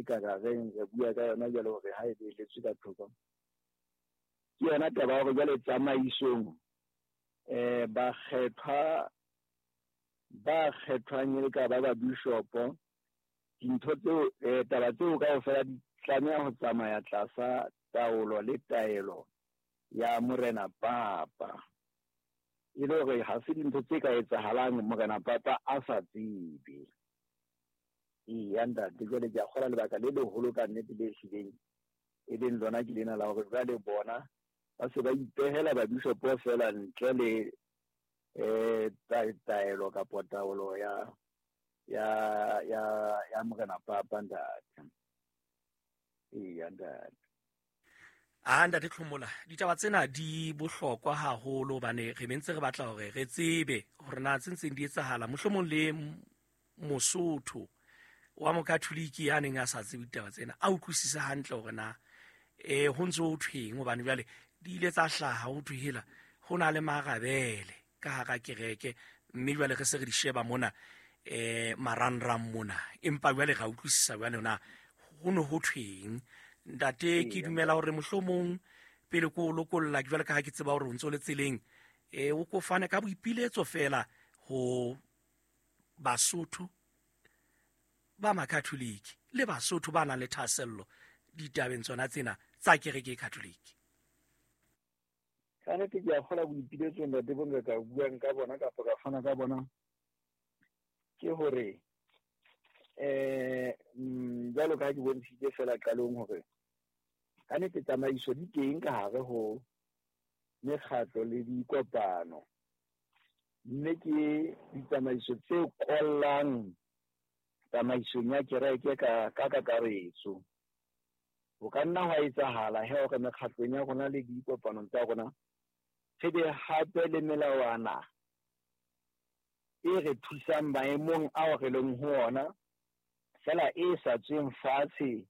e ka rareng re bua ka yona jwale hore ha e beeletswe ka thoko, ke yona taba ya hore jwale tsamaisong bakgethwa ba kgethwang e le ka ba babishopo, dintho tseo taba tseo kaofela di tlameha ho tsamaya tlasa taolo le taelo ya Morena Papa. E le hore ha se dintho tse ka etsahalang Morena Papa a sa tsebe. Eya ntate, jwale ke a kgola lebaka le leholo ka nnete le hlileng e leng lona ke lena la hore jwale bona ba se ba ipehela babishopo feela ntle le taelo kapa taolo ya Morena Papa ntate. Eya ntate. A ntate Tlhomola, ditaba tsena di bohlokwa haholo hobane re mentse re batla hore re tsebe hore na tse ntseng di etsahala, mohlomong le Mosotho wa Mokatholiki ya neng a sa tsebe ditaba tsena a utlwisise hantle hore na ho ntse ho thweng, hobane jwale di ile tsa hlaha ho thwe hela ho na le marabele ka hara kereke, mme jwale re se re di sheba mona marangrang mona, empa jwale ra utlwisisa jwale na ho ne ho thweng. Ntate, ke dumela hore mohlomong pele ko o lokolla, jwale ka ha ke tseba hore o ntse o le tseleng, o ko fane ka boipiletso fela ho Basotho ba Makatholiki le Basotho ba nang le thahasello ditabeng tsona tsena tsa kereke e Katholiki. Ka nnete ke a kgola boipiletso ntate bo nka ka buang ka bona kapa ka fana ka bona, ke hore jwalo ka ha ke bontshitse fela qalong hore ka nnete tsamaiso di teng ka hare ho mekgatlo le dikopano, mme ke ditsamaiso tse kollang tsamaisong ya kereke ka kakaretso. Ho ka nna hwa etsahala he hore mekgatlong ya rona le dikopanong tsa rona re be hape le melawana e re thusang maemong ao re leng ho ona, fela e sa tsweng fatshe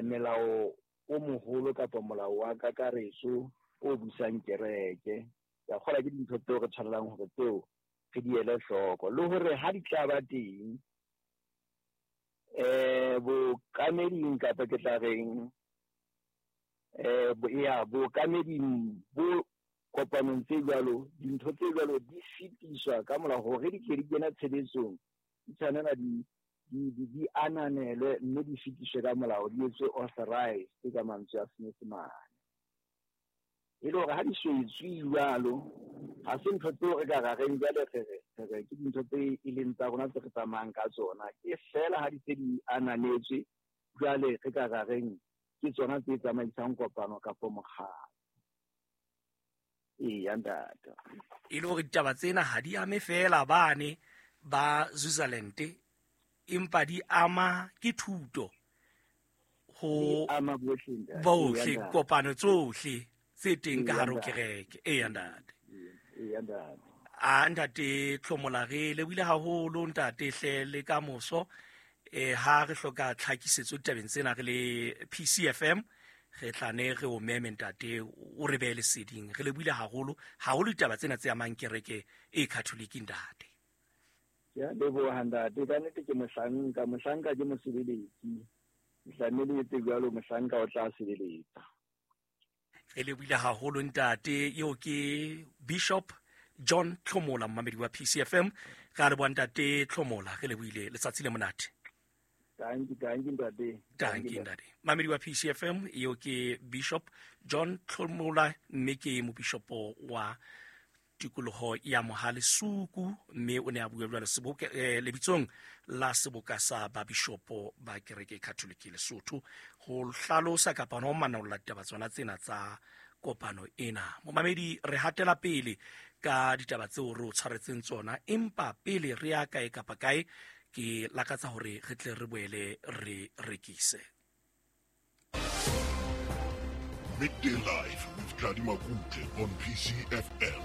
melao o moholo kapa molao wa kakaretso o busang kereke. Ke a kgolwa ke dintho tseo re tshwanelang hore tseo re di ele hloko, le hore ha di tla ba teng bokameding kapa ke tla reng bokameding bo kopanong tse jwalo, dintho tse jwalo di fetiswa ka molao hore di tle di kena tshebetsong, di tshwanela di ananelwe mme di fetiswe ka molao, di etswe authorized ka mantswe a Senyesemane. E le hore ha di so etswe jwalo, ha se ntho tseo re ka ra reng jwale re re ke dintho tse e leng tsa rona tse re tsamayang ka tsona. Ke fela ha di se di ananetswe jwale re ka ra reng ke tsona tse tsamaisang kopano kapa mokgatlo. Eya ntate. E le hore ditaba tsena ha di ame fela bane ba Switzerland, empa di ama ke thuto ho ama bohle ntate. Bohle, kopano tsohle tse teng ka hare ho kereke. Eya ntate. Eya ntate. A ntate Tlhomola, re lebohile haholo ntate hle, le ka moso ha re hloka tlhakisetso ditabeng tsena re le PCFM, re tla ne re o meme ntate, o re behe leseding. Re lebohile haholo haholo ditaba tsena tse amang kereke e Catholic ntate. Ke a leboha ntate, ka nnete ke mohlanka, mohlanka ke mosebeletsi. Tlamehile etse jwalo, mohlanka o tla sebeletsa. Re lebohile haholo ntate. Eo ke Bishop John Tlhomola, mmamedi wa PCFM. Re a leboha ntate Tlhomola, re lebohile, letsatsi le monate. Tanki, tanki ntate. Tanki ntate. Mmamedi wa PCFM, eo ke Bishop John Tlhomola, mme ke mobishopo wa tikoloho ya Mohale Suku, mme o ne a bua jwalo seboka lebitsong la seboka sa babishopo ba kereke Catholic Lesotho, ho hlalosa kapa ho manolla ditaba tsona tsena tsa kopano ena. Momamedi, re hatela pele ka ditaba tseo re o tshwaretseng tsona, empa pele re ya kae kapa kae, ke lakatsa hore re tle re boele re rekise. Midday Live with Tladi Makutle on PCFM.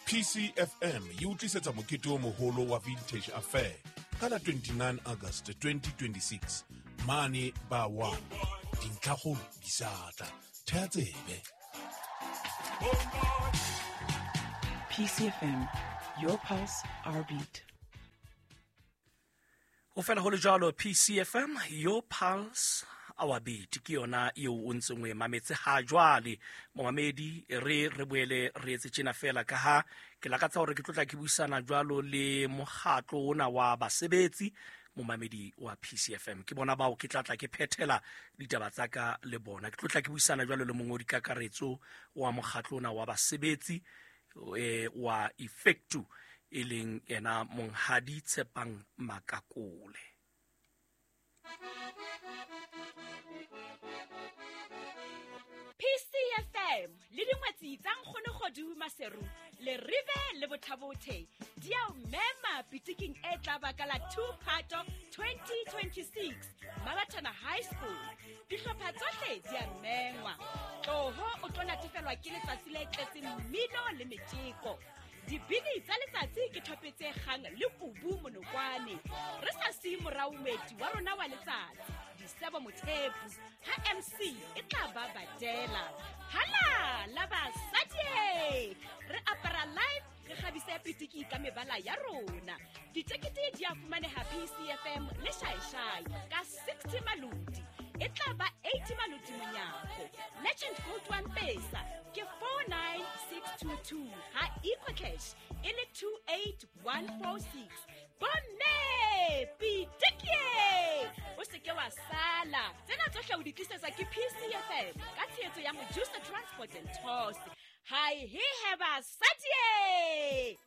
PCFM e utlisetsa mokete o moholo wa Vintage Affair ka la 29 August 2026 mane ba 1. Dintlhakgolo di sa tla. Thea tsebe. PCFM, your pulse, our beat. Ho fela ho le jwalo, PCFM, your pulse, our beat, ke yona eo o ntseng o e mametse ha jwale. Momamedi, re boele re etse tjena fela ka ha ke lakatsa hore ke tlotla ke buisana jwalo le mokgatlo ona wa basebetsi. Momamedi wa PCFM, ke bona bao ke tlatla ke phethela ditaba tsa ka le bona. Ke tlotla ke buisana jwalo le mongodi kakaretso wa mokgatlo ona wa basebetsi wa Efectu, e leng ena Monghadi Tshepang Makakole. PCFM le dingwetsi tsa Nkgonogodu Maseru le Rive le Bothabothe di a o mema pitiking e tla baka la 2 Phato 2026 Mabathana High School. Dihlopha tsohle di a mengwa. Tloho o tlo natefelwa ke letsatsi le tletseng mmino le metjeko. Dibini tsa letsatsi ke thope tse kgang le kubu monokwane. Re sa siye morao moeti wa rona wa letsatsi, Disebo Mothepu, ha MC e tla ba badela. Hala la basadi! Re apara live, re kgabise pitiki ka mebala ya rona. Ditekete di a fumaneha PCFM le Shaishai ka 60 maloti. E tla ba 80 maloti monyako. Legend Gold One Pesa ke 49622 ha EcoCash e le 28146. Bomme pitiki! O se ke wa sala. Tsena tsohle o di tlisetsa ke PCFM ka tshehetso ya Mojusa Transport and Tours. Hi he he basadi!